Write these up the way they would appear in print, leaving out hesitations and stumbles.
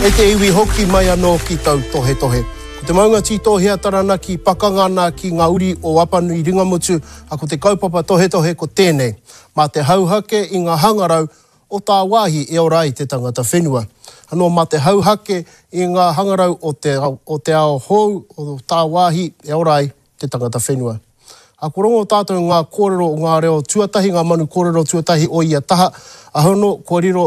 E te iwi hoki mai anō ki tautohetohe. Ko te maunga tītohea Taranaki pakanga ana ki ngā uri o Apanui Ringamutu, a ko te kaupapa tohetohe ko tēnei, mā te hauhake i ngā hangarau o tāwāhi e ora ai te tangata whenua. Anō mā te hauhake i ngā hangarau o te, o te ao hou o tāwāhi e ora ai te tangata whenua. A kua rongo tātou ngā kōrero o ngā reo tuatahi, ngā manu kōrero tuatahi o ia taha, a hono kua riro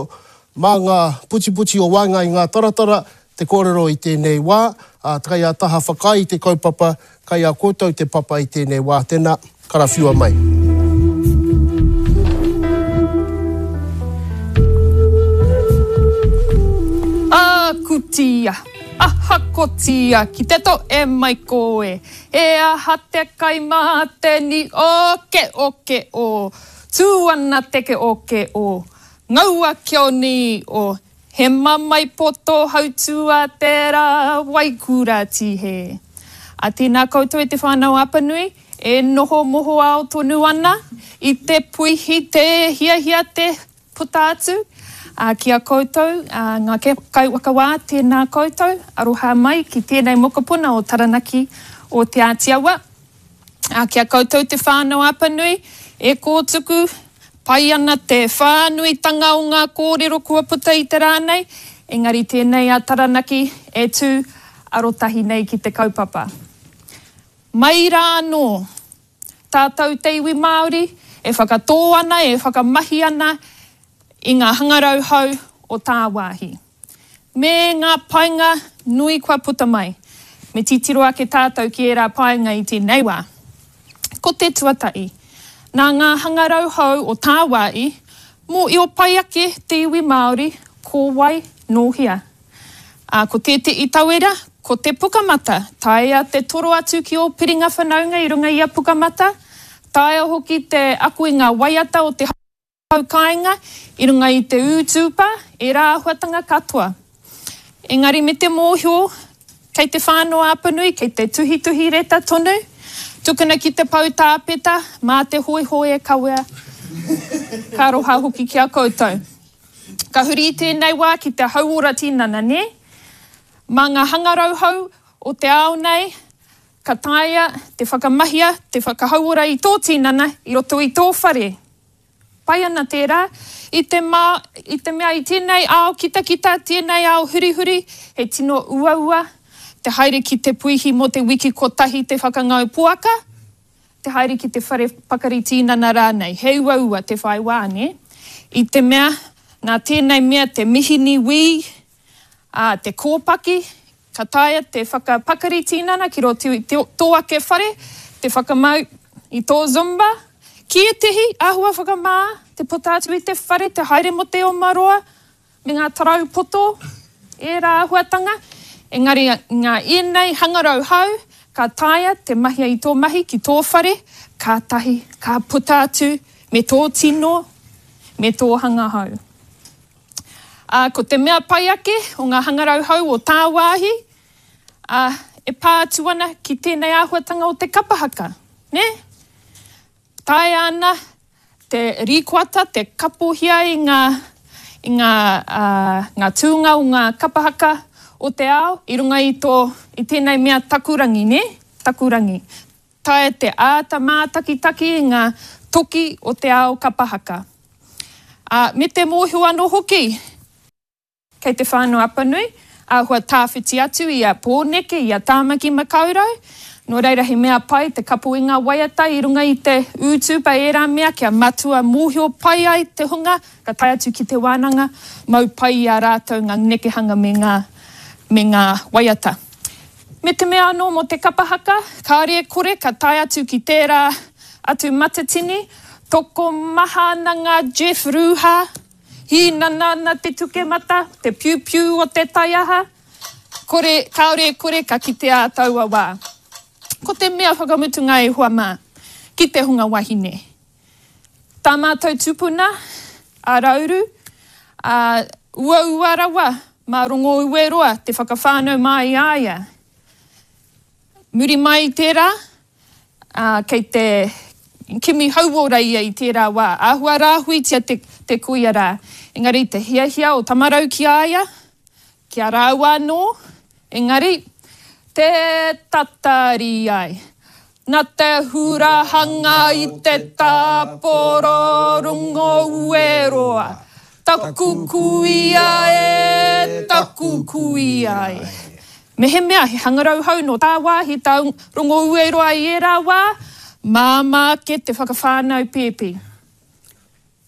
mā ngā putiputi o waenga i ngā taratara te kōrero i tēnei wā, ā, kai a taha whakaae i te kaupapa, kai a koutou te papa i tēnei wā, tēnā, karawhiua mai. Ākutia, ahakotia ki te to e mai koe, He aha te kai mā te ni o ke o ke o Tū ana te ke o ke o Ngaua kio ni o He mamae poto hautua te rā Waikura tihe A tēnā koutou e te whānau Apanui e noho mohoao tonu ana i te puihi te hiahia te Puta atu, ā, ki a koutou, ā, ngā kaiwhakawā, tēnā koutou, aroha mai ki tēnei mokopuna o Taranaki, o Te Āti Awa. Ā, ki a koutou te whānau Apanui, e kōtuku pai ana te whānuitanga o ngā kōrero kua puta i te rā nei, engari tēnei a Taranaki e tū arotahi nei ki te kaupapa. Mai rā anō, Tātou te iwi Māori e whakatō ana, e whakamahi ana i ngā hangarau hou o tāwāhi. Me ngā painga nui kua puta mai. Me titiro ake tātou ki ērā painga i tēnei wā. Ko te tuatahi, nā ngā hangarau hou o tāwāhi, mōhio pai ake te iwi Māori ko wai nō hea. Ā, ko tētehi tauira, ko te Pukamata. Taea te toro atu ki ō piringa whanaunga i runga i a Pukamata. Taea hoki te ako i ngā waiata o te hau kāinga i runga i te ūtūpa, ērā āhuatanga katoa. Engari me te mōhio, kei te whānau-a-Apanui, kei te tuhituhi reta tonu, tukuna ki te pou tāpeta, mā te hōiho e kawea. Ka aroha hoki ki a koutou. Ka huri i tēnei wā ki te hauora tinana, nē? Mā ngā hangarau hou o te ao nei, ka taea te whakamahia, te whakahauora i tō tinana i roto i tō whare. Pai ana tērā, i te mā, i te mea i tēnei ao kitakita, tēnei ao hurihuri, he tino uaua te haere ki te puihi mō te wiki kotahi te whakangau poaka, te haere ki te whare pakari tīnana rānei, he uaua te whai wā, nē? I te mea, nā tēnei mea te mihini wī, ā, te kōpaki, ka taea te whakapakari tīnana ki roto i tō ake whare, te whakamau i tō Zumba. Ki ētehi, āhua whakamā, te puta atu i te whare, te haere mō te oma roa, me ngā tarau poto, ērā āhuatanga, engari ngā ēnei hangarau hou, ka taea te mahia i tō mahi ki tō whare, kātahi ka puta atu me tō tino, me tō hanga hou. Ā, ko te mea pai ake o ngā hangarau hou o tāwāhi, ā, e pā atu ana ki tēnei āhuatanga o te kapa haka, nē? Taea ana te rīkoata, te kapohia i ngā, i ngā, ā, ngā tūnga o ngā kapa haka o te ao i runga i tō, i tēnei mea takurangi, nē? Takurangi. Taea te āta mātakitaki i ngā toki o te ao kapa haka. Ā, me te mōhio anō hoki, Kei Te Whānau-a-Apanui, āhua tāwhiti atu i a Pōneke, i a Tāmaki Makaurau. Nō reira he mea pai te kapo i ngā waiata i runga i te ūtūpa ērā mea kia matua mōhio pai ai te hunga ka tae atu ki te wānanga, mau pai i a rātou ngā nekehanga me ngā, me ngā waiata. Me te mea anō mō te kapa haka, kāore e kore ka tae atu ki tērā atu matatini, tokomaha ana ngā Jeff Ruha, Hīnana ana te tukemata, te piupiu o te taiaha, kore, kāore e kore ka kitea a taua wā. Ko te mea whakamutunga e hoa mā, ki te hunga wahine. Tā mātou tupuna, a Rauru, ā, uaua rawa mā Rongoueroa te whakawhānau mai i a ia. Muri mai i tērā, ā, kei te kimi hauora ia i tērā wā. Āhua rāhuitia te, te kuia rā. Engari te hiahia o Tamarau ki a ia, Ki a rāua anō, engari, tē tatari ai. Na te hurahanga i te tāporo rongo ueroa, taku kuia e, taku kuia e. Mehemea he hangarau hou nō tāwāhi tā rongo ueroa i ērā wā, māmā ake te whakawhānau pēpi.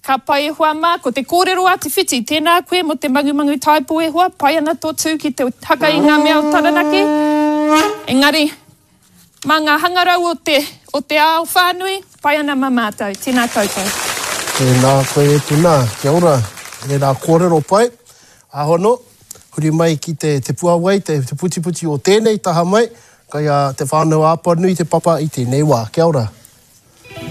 Ka pai e hoa mā, ko te kōrero a Te Whiti, tēnā koe mō te mangumangu taipo e hoa, pai ana tō tū ki te haka i ngā mea o Taranaki, engari, mā ngā hangarau o te, o te ao whānui, pai ana mā mātou. Tēnā koutou. Tēnā koe e Tuna, kia ora, ērā kōrero pai. Ahono, huri mai ki te, te puawai, te, te putiputi o tēnei taha mai, kai a Te Whānau-a-Apanui te papa i tēnei wā. Kia ora.